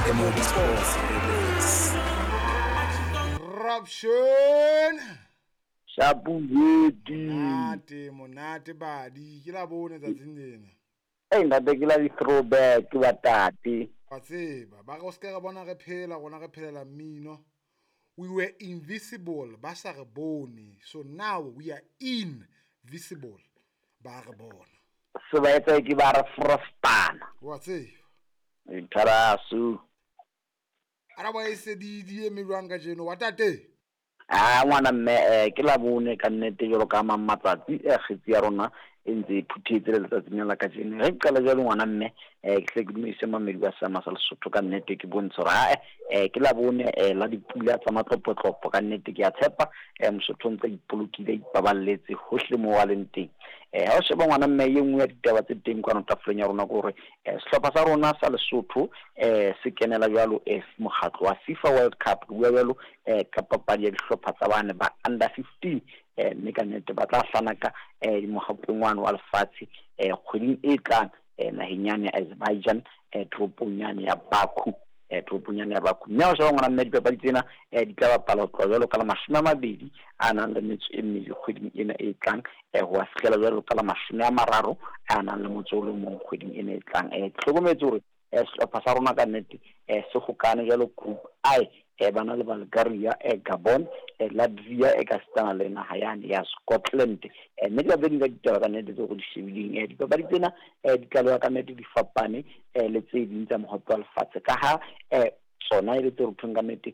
MOB Sports Relevance. Corruption. Shapu yeti. Monate, monate badi. Ke la bone tsatsing lena. Ei ntate ke la di-throwback ba tate. Wa tseba, ba re o se ke re bona re phela, rona re phelela mmino. We were invisible, ba sa re bone. So now we are invisible. Ba re bona. Se ba etsa ke ba re frostana. Wa tseba. Tharasu. Araba e se di di eme jwang kajeno wa tate? A ngwana mme ke la bone ka nnete jwalo ka mang matsatsi kgetsi ya rona e ntse e phuthetse le letsatsing la kajeno. Re qala jwalo ngwana mme ke hle ke dumedise mamedi wa seama sa Lesotho ka nnete ke bontshe hore ae ke la bone la dipula tsa matlopotlopo ka nnete ke a tshepa Mosotho o ntse a ipolokile a ipaballetse hohle moo a leng teng. Ha o sheba ngwana mme e nngwe ya ditaba tse teng kwano tafoleng ya rona ke hore sehlopha sa rona sa Lesotho se kenela jwalo mokgatlo wa FIFA World Cup, re bua jwalo ka papadi ya dihlopha tsa bane ba under 15 mme ka nnete ba tla hlanaka mohapeng wane wa lefatshe kgweding e tlang naheng yane ya Azerbaijan toropong yane ya Baku, toropong yane ya Baku. Mme ha o sheba ngwana mme dipapadi tsena di tla bapala ho tloha jwalo ka la 20 a nang le metso e mmedi kgweding ena e tlang ho a fihlela jwalo ka la 30 a nang le motso o le mong kgweding ena e tlang. Ke hlokometse hore sehlopha sa rona ka nnete se hokane jwalo group I ba na le Bulgaria, Gabon, Latvia e ka sitana le naha yane ya Scotland. Mme ke tse ding tsa ditaba ka nnete tseo re di shebileng. Dipapadi tsena di tlaleha ka nnete di fapane le tse ding tsa mohope wa lefatshe ka ha tsona e le tse re thweng ka nnete.